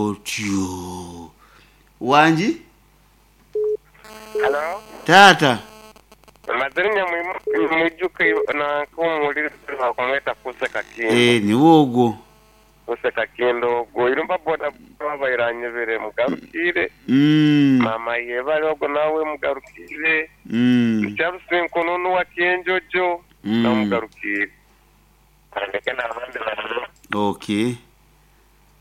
Otyo wangi. Halo. Taata. Mazirinya mwijuka nanka omuwuliriza bakumweta Kuse Kakindo. Eh, niwe ogwo. Kuse Kakindo ogwo irumba boda abaire anyebere mugarukire. Mama yebale ogwo nawe mugarukire. Charles Nkonono wa Kyenjojo namugarukire. Andeke n'abandi bantu. Okay.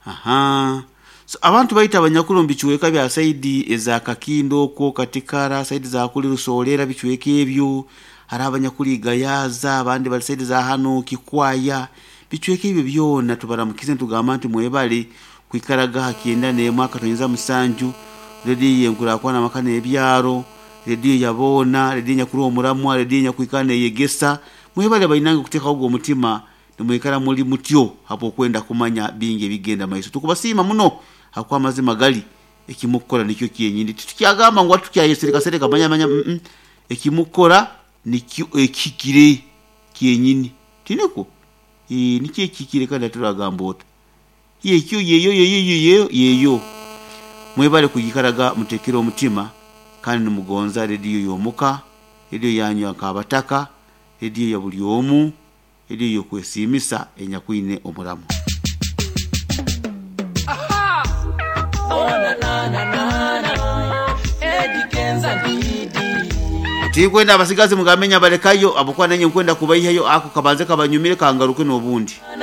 Aha. So, abantu baita abanyakulu mubichweka bya saidi eza Kakindo okwo Katikara, saidi za kuli Rusolera, bichweka ebyo. Hari abanyakuli Gayaza, abandi bali saidi za hano Kikwaya. Bichweka ebyo byona tubaramukize ntugamba nti mwebale kwikaraga hakienda n'emwe akatonyeza musanju. Rediyo yenkurakwana amaka n'ebyaro, rediyo yaboona, rediyo nyakuru omuramwa, rediyo nyakwikara neyegesa. Mwebale bainange kuteekaho ogwo omutima nimwikara muli mutyo habwokwenda kumanya bingi ebigenda maiso. Tukubasiima muno hakuba amazima gali ekimukukora nikyo kyenyini. Titukyagamba ngu atukyayesereka manya manya ekimukukora nikyo ekihikire kyenyini. Tiniko? Nikyo ekihikire kandi aturagamba ota. Yekyo yeyo yeyo yeyo yeyo. Mwebale kugikaraga mutekere omutima kandi nimugonza rediyo y'omuka, rediyo yanyu nk'abataka, rediyo ya buli omu, rediyo y'okwesiimisa enyakwine omuramu. Tikwenda abasigazi mugamenya balekayo abukuba nanye nkwenda kubaihayo ako kabanze kabanyumire kangaruke n'obundi.